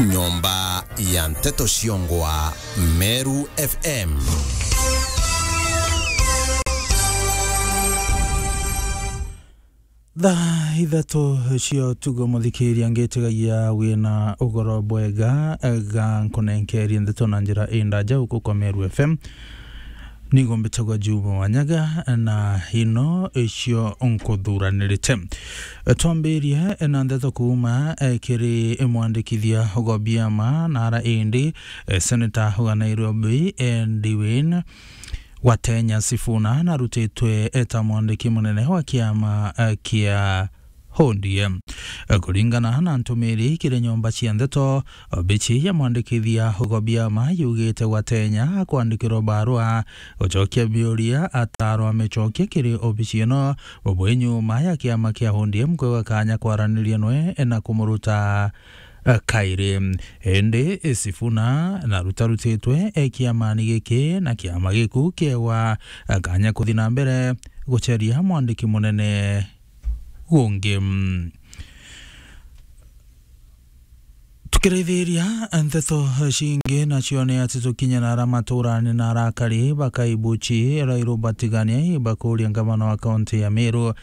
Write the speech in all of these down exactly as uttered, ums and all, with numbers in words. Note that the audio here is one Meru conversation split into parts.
Nyomba ya nteto ciongwa Meru F M. Thaa ithatu cia utugo, muthikiria, ngitigagia wina ugoro bwega, ga nkunenkerie ndeto na njira indaja uku kwa Meru F M. Nigo mbitagwa Juma Wanyaga, na ino icio nkuthuranirite. Twambirie na ndeto kuuma, eh, kiri mwandikithia Ogobiama, na ara indi, eh, seneta wa Nairobi, eh, Dewin Watenya Sifuna narutitwe eta mwandiki munene wa kiama, eh, kia O D M. Kuringana na ntumiri kiri nyomba cia ndeto, obici ya mwandikithia Ogobiama yugite Watenya akwandikirwa barua gucokia biuria atarwa micokie kiri obici ino, bwi nyuma ya kiama kia O D M kwiga kanya kwaraniria nwe na kumuruta, eh, kairi. Indi Sifuna narutarutitwe, eh, kiamani giki na kiama giku kiewa, eh, kanya kuthi na mbere guceria mwandiki munene gungi. Tukirithiria nteto cingi, nacio ni ati tukinye na ara maturani na arakari ba Kaibuchi, Rairu Batigania, ibakuria ngavana wa kaunti ya Meru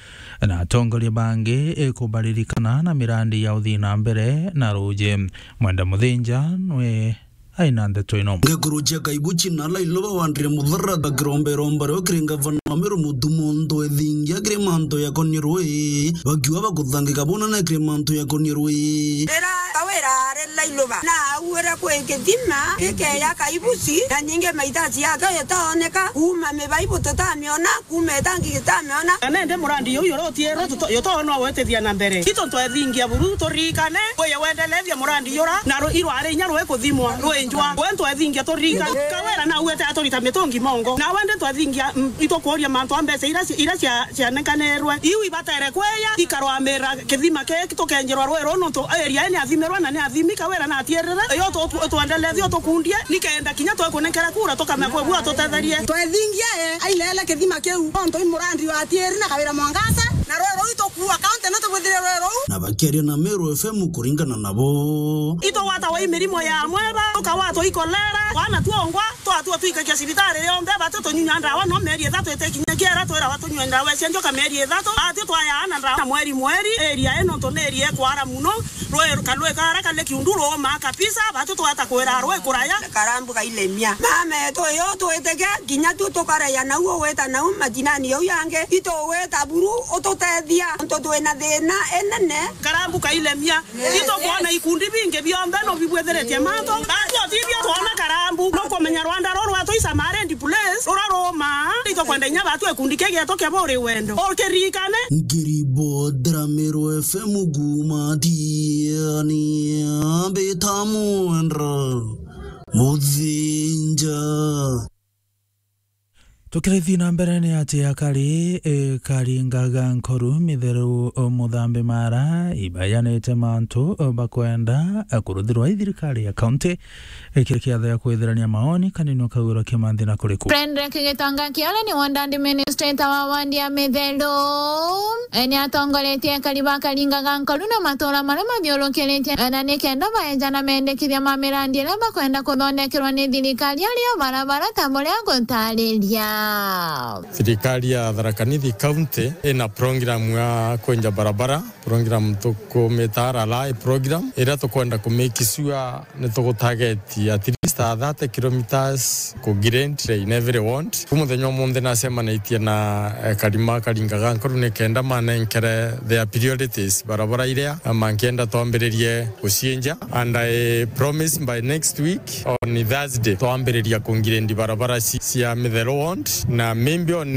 na atongoria bangi, eh, kubaririkana na mirandi ya uthii na mbere na ruuji. Mwenda Muthinja nwe aina ndeto ino. Ngekuru cia Kaibuchi na Lailoba wandire muthara bakiromba iromba rio kiri ngavana wa Meru Mutuma untu ethingia kiri mantu yakonie rui, bakiuga bakuthangika bunene kiri mantu yakonie rui. Rira Kawira ari Lailoba na auire kwi kithima gikeya Kaibuchi, na nyingi maitasi yake itaoneka, kuuma mibaibu tutamiona, kuuma itangi gitameona. Na nende murandi juu jura utiirwe tuto-, jutoonwa gwitithia na mbere. Itu twethingia buru turirikane, wije wendelethia murandi jura, na ru-, irwari inya rwikuthimwa, rwinjwa. We twethingia turirikane. Kawira na uete aturita mitungi mongo. Na wende twethingia, mm, itukuuria mantu a mbeca ira ci-, ira cia-, cianekanirwe. Iu ibatere kweya, ikarwamira kithima kii tukenjirwa rui ruu nontu area ii ni athimirwe na ni athimi. Kawira na atiirire, yo tu-, tu-, twendelethie utukundie, nikenda kinya twekunenkera kura tukamea kwi bua tutetherie. Twethingia, eh, ailele kithima kiu, nontu i murandi wa Atieri na Kawira Mwangaza, na rui ruu itukuua kaunti no tubwithire rui ruu. Na bakiaria na Meru F M kuringana nabo. Itugwatagwa i mirimo ya amweba, tukagwatwa i kolera, wana twongwa, twatua twikagia cibitari yonthe, batu tunyunya ndawa no mieri ithatu itikinya kiera, twirawa tunyue ndawa cia njoka mieri ithatu, batu twayaana ndawa na mweri mweri, area ino nontu ni area ikwara muno, rui kalui kara kali kiundu ruumaa kabisa, batu twata kwira rui kuraya. Karambu kailemia. Mama etu uyu twitike, kinya tu tukaraya nau ugwita nau majinani jau yangi, itugwita buru ututethia, nontu twina thina inene. Karambu kailemia. Itukwona ikundi bingi bionthe no bibwithiritie mantu. Batu otithia twona Karambu, nukumenya rwanda ruru rwatu i Samaria ndi place, rura ruumaa. Itukwenda inya batu ikundi kii gietu kia buri wendo. Ukiririkane. Ngiribotera Meru F M kuuma Tiani, mbita Mwendra Muthinja. Tukirithi na mbere ni ati akari, e, Karinga ga Nkoru, Mitheru, o, Muthambi Mara, ibayanite mantu, o, bakwenda, e, kuruthirwa i thirikari ya kaunti, e, kiri kiatho ya kwithirania maoni, kanini ukagwirwa kimanthi na kuriku. Frederick Gitonga Kiole ni ward administrator wa ward ya Mitheru. E, ni atongoretie akari ba Karinga ga Nkoru na matura maria mathiurukiritie, e, na ni kenda baeja na mendekithia ma mirandi iria bakwenda kuthondekerwa ni thirikari, ario barabara ta buria gutariria. Thirikari ya Tharaka Nithi County ina program ya kwenja barabara, program tukumita R R I program, iria tukwenda ku make sure ni tugutarget at least a thirty kilometres ku grade in every ward. Ku muthenya umunthi nacemanitie na, eh, akari ma Karinga ga Nkoru ni kenda manenkere their priorities, barabara iria, eh, mankienda twambiririe gucienja. And I promise by next week on Thursday, twambiriria ku grade barabara ci-, cia Mitheru ward, na maybe on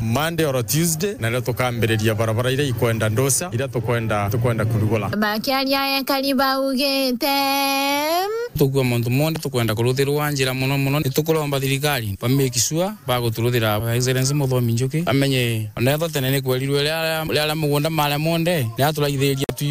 Monday or Tuesday, nario tukambiriria barabara iria ikwenda ndosa, iria tukwenda, tukwenda kurugura. Bakiaria ekari baugite, tukua mantu monthe tukwenda kuruthirwa njira muno muno, ni tukuromba thirikari ba make sure baguturuthira Excellency Muthomi Njuki, amenye ona etho tene ni kwerirwe riaria, riaria mugunda maria monthe, ni aturaithiria tu